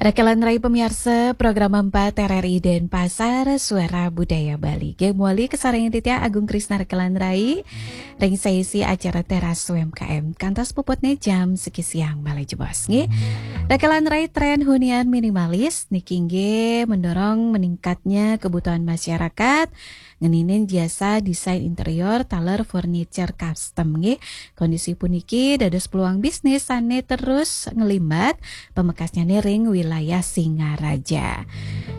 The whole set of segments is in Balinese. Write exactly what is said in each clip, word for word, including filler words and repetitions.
Rekelan Rai pemiarsa, program empat R R I Denpasar, Suara Budaya Bali. Nggih, mawali kasarengin titiang Agung Krisna Rekelan Rai ring saisi acara Teras U M K M. Kantos puputne jam siki siang malih jebos, nggih. Rekelan Rai, tren hunian minimalis niki nggih mendorong meningkatnya kebutuhan masyarakat ngeninin jasa desain interior taler furniture custom, nggih. Kondisi puniki dados peluang bisnis sane terus nglimbat pamekasnyane ring wilayah Singaraja.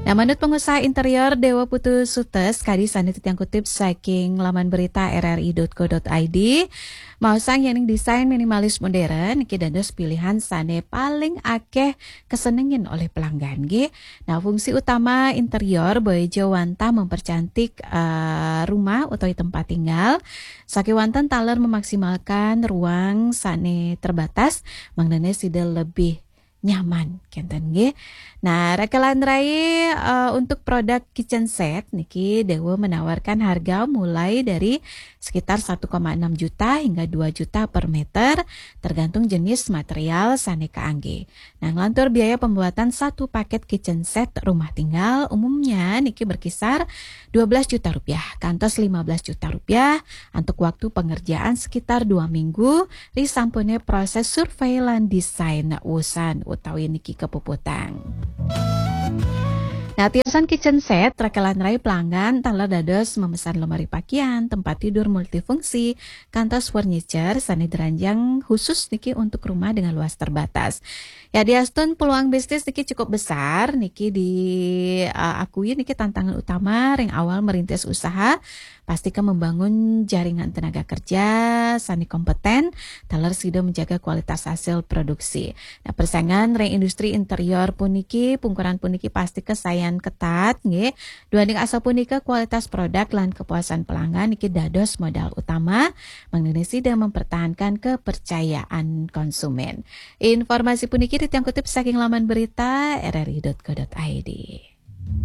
Nah, manut pengusaha interior Dewa Putu Sutes, kadi sane titiang kutip saking laman berita R R I dot co dot I D, maosang yening desain minimalis modern niki dados pilihan sane paling akeh kasenengin olih pelanggan, nggih. Nah, fungsi utama interior boya ja wantah mempercantik, eh, rumah utawi tempat tinggal, sakewanten taler memaksimalkan ruang sane terbatas, mangdane sida lebih nyaman, kenten, nggih. Nah, Rekelan Rai, eh, untuk produk kitchen set niki Dewa menawarkan harga mulai dari sekitar satu koma enam juta hingga dua juta per meter, tergantung jenis material sane kaangge. Nah, nglantur biaya pembuatan satu paket kitchen set rumah tinggal umumnya niki berkisar dua belas juta rupiah kantos lima belas juta rupiah, antuk waktu pengerjaan sekitar dua minggu, risampune proses survei lan desain wusan utawi niki kepuputang. Nah, tiosan kitchen set, Rekelan Rai pelanggan taler dados memesan lemari pakaian, tempat tidur multifungsi, kantos furniture sane diranjang khusus niki untuk rumah dengan luas terbatas. Ya, diastun peluang bisnis niki cukup besar, niki di, eh, akui niki tantangan utama ring awal merintis usaha, pastika membangun jaringan tenaga kerja sane kompeten, taler sida menjaga kualitas hasil produksi. Nah, persaingan ring industri interior puniki, pungkuran puniki pastika sayan ketat, nggih. Duaning asapunika, kualitas produk lan kepuasan pelanggan niki dados modal utama, mangdane sida mempertahankan kepercayaan konsumen. Informasi puniki titiang kutip saking laman berita R R I dot co dot I D.